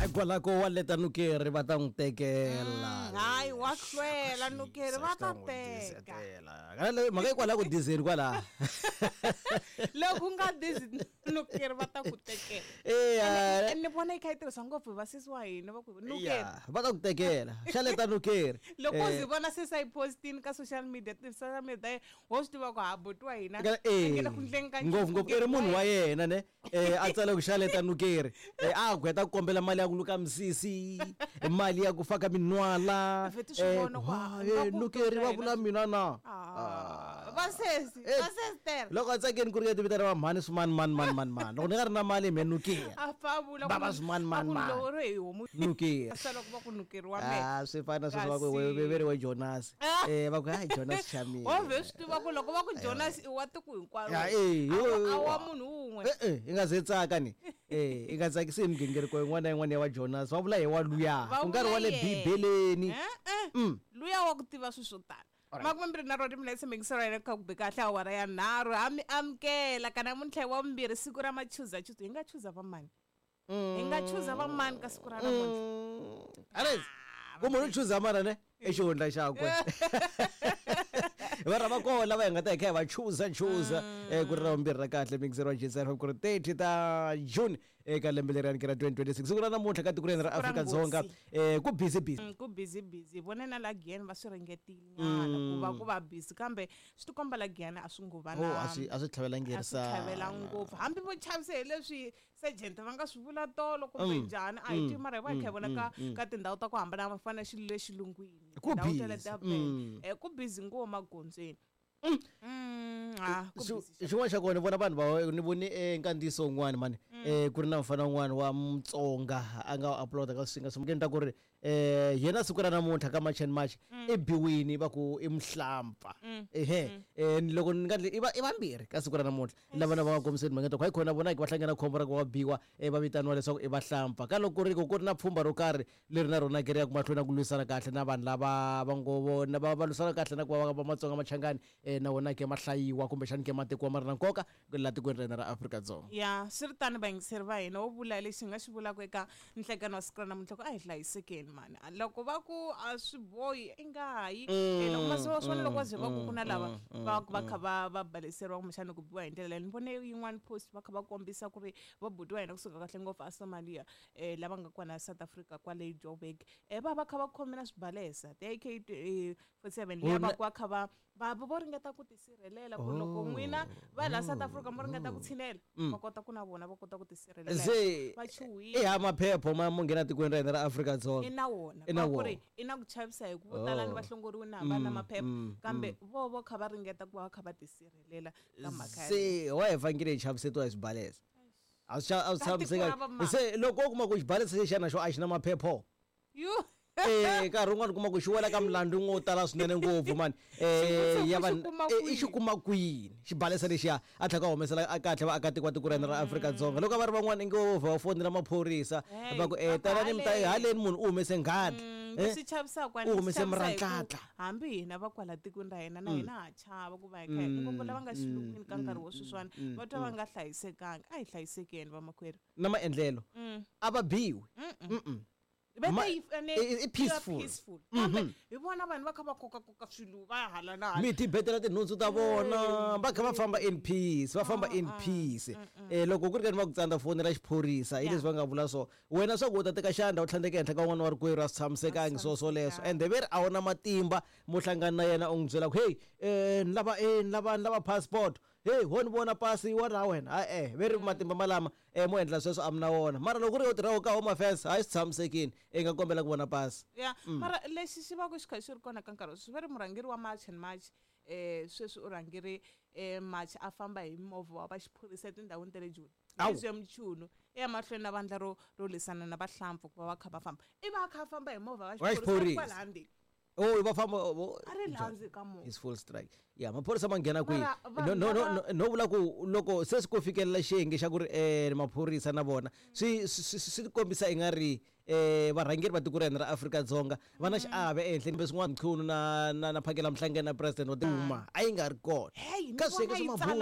Kwalako wa leta nukeri va ta n'wi tekela. Hayi, wa hlwela nukeri va ta teka. Mhaka yi kwala ku dizeni kwala. Loko u nga dizi nukeri va ta ku tekela. Eya. Ni vona yi kha yi tirhisa ngopfu hi vasesi wa hina va ku nukeri. Ya, va ta ku tekela. Xa leta nukeri. Loko u zi vona sesi a yi postini ka social media, ti-social media ta yena, wo swi tiva ku ha buti wa hina a nge le ku endleni ka nchumu. Ngopfungopfu i ri munhu wa yena ne a tsala ku xaleta nukeri a ku heta ku kombela mali ya ku luka misisi, mali ya ku faka minwala. Vheti swi vona ku ha, nga ku Nukeri va vula mina na. Ah, vasesi, vasesitera. Loko a tsakeni ku ri ka vitana va mhani swimani mani mani mani mani, loko ni nga ri na mali me nukeri. A fa vula Va va swimani mani mani. Loko ri hi homu. Nukeri. Sa loko va ku nukeri wa mehe. Ah, swi fana sweswo va ku Kasi- ve ri we Jonas. Va ku hayi Jonas Shamile. Wo vhe swi tiva ku loko va ku Jonas i wa tiko hinkwaro. Ya, eh, yo- A wa munhu wun'we. I nga ze tsaka ni. I nga tsakisi hi migingiriko yin'wana na yin'wana ya wa Jonas. Va vula hi wa luya. Va Ku nga ri wa le vula yena. Bibeleni. Eh. Luya wa ku tiva swilo swo tala. 29 timinetse mingiselo yena kha ku be kahle awara ya 3 ha mi amukela ka namuntlha wa vumbirhi siku ra machuza chuza. Hi nga chuza va mani? Hi nga chuza va mani ka siku ra namuntlha? Ares, ku munhu u chuza mana ne? I xihundla xakwe. Va rhava kona lava hi nga ta hi kha hi va chuza chuza. Ku ri ra vumbirhi ra kahle mingiselo wa Jetsar ku ri 30 ta June eka lembe leriyani ra 2026. Siku ra namuntlha ka tiko ra hina ra Siku ra Afrika-Dzonga, nghozi. Ku busy busy. Ku busy busy. Vone na la Giyani va swi ringetile nyana ku va ku va busy, kambe swi tikomba la Giyani a swi ngo va Oh, na a swi a swi tlhavelangi a swi tlhavela ngopfu. Hambi vo chavise hi leswi sergeant va nga swi vula tolo kumbe njhani, a hi tivi, mara hi va hi kha hi vona ka tindhawu ta ku hambana va fana na xilo lexi lungwini. Ku Tindhawu busy. ta le Durban. Ku busy ngopfu magondzweni. Ku busy. Xin'wana xa kona ni vona vanhu va ni vone nkandziyiso wun'wani mani, ku ri na mufana wun'wani wa Mutsonga a nga upload ka swinga swi ta ku ri yena siku ra namuntlha ka March and March i biwini va ku i muhlampfa. Ehe, loko ni nga ndli i va i vambirhi ka siku ra namuntlha lava na va nga kombiseni mhaka ta ku hayi khona vona va hlangana khombo ra ku va biwa va vitaniwa leswaku i vahlampfa. Ka loko ku ri ku ri na pfhumba ro karhi leri na rona ke ri ya ku mahlweni na ku lwisana kahle na vanhu lava va ngo vona va lwisana kahle na ku va va Matsonga Machangani na wona ke ma hlayiwa kumbexani ke ma tekiwa ma ri na nkoka laha tikweni ra hina ra Afrika-Dzonga. Ya, swi ri tano vayingiseri va hina, wo vula lexi hi nga xi vulaka eka nhlekani wa siku ra namuntlha ku a hi hlayisekeni mani. Loko va ku a swi bohi i nga yi. Loko masiku swona loko va ze va ku ku na lava va va kha va va baleseriwa kumbexana ku biwa hi ndlela leyi. Ni vone yin'wana post va kha va kombisa ku ri va buti wa hina kusuka kahle ngopfu a Somalia lava nga kona South Africa kwale Joburg va va kha va khome na swibalesa ti AK 47 liya va ku va kha va va vo ringeta ku tisirhelela ku loko n'wina va la South Africa mo ringeta ku tshinela va kota ku na vona va kota ku tisirhelela. Se Va chuhile. I ha maphepho ma mo nghena tikweni ra hina ra Afrika-Dzonga. I na wona. I na Va ku ri wona. i na ku chavisa hi ku vo tala ni va hlongoriwe na va na maphepha, kambe vo vo kha va ringeta ku va va kha va tisirhelela ka mhaka yaleyo. Se wa hi fanekele hi chavisetiwa hi swibalesa. A swi a swi Ka tiko ra tshamisekanga. va mani? Se loko u kuma ku xibalesa lexiyana xo a xi na maphepho. Yo. Nkarhi wun'wani u kuma ku xi wela ka milandzu wo tala swinene ngopfu mani. Xivutiso Ya ku vanhu, xi kuma i xi kwini? kuma kwini xibalesa lexiya a tlhela a humesela a kahle vaakatiko va tiko ra hina ra Afrika-Dzonga. Loko a va ri van'wana inge vo vha va fonela maphorisa Hey, va ku va ku tanani mi ta haleni. haleni munhu u humese nghadi. Leswi chavisaka U humese ni chavisa hi ku murantlatla. hambi hina va kwala tikweni ra hina na hina ha chava ku va hi kha hi ngopfu lava nga xilungwini ka nkarhi wo sweswiwani va twa va nga hlayisekanga. A hi hlayisekeni vamakwerhu. Na maendlelo a va biwi. Va Ma- ta yi fanele i yi va peaceful. peaceful. Kambe hi vona vanhu va kha va kokakoka swilo va ya hala na hala. Mi tibetela tinhundzu ta vona va kha va famba in peace, va famba in peace. Loko ku ri ka ni va ku tsandza fonela xiphorisa hi leswi va nga vula so wena swa ku u ta teka xandla u tlhandleka ehenhla ka un'wana wa rikwerhu a swi tshamisekangi swo swoleswo. Ende ve ri a wu na matimba mo hlangana na yena u n'wi byela ku hey ni lava ni lava ni lava passport, hey ho ni vona pasi wa ra wena. Ha ve ri matimba malama mo endla sweswo a mi na wona. Mara loko ku ri u tirha ka Home Affairs hayi swi tshamisekile i nga kombela ku vona pasi. Ya, mara lexi xi va ku xi kha xi ri kona ka nkarhi sweswi va ri murhangeri wa March and March sweswi u rhangeri March a famba hi movha wa va xiphorisa etindhawini ta le Joni. Awu. Leswi ya Mchunu e ya mahlweni na vandla ro lwisana na vahlampfu ku va va kha va famba. I va kha famba hi movha wa Wa xiphorisa xiphorisa. kwala handle. Oh, va famba, oh, A ri landzi ka movha. Is full strike. Ya, maphorisa ma nghena kwihi? Mara vanhu No, no, no, lava- no, no vula ku loko se swi ku fikelela xiyenge xa ku ri maphorisa na vona swi kombisa i nga ri varhangeri va tiko ra hina ra Afrika-Dzonga va na xiave ehenhleni kumbe swin'wana Mchunu na Phakela Mhlangeni na president wa Duma a yi nga ri kona. Hey, ni Ka swiyenge vona swa yi mabulu.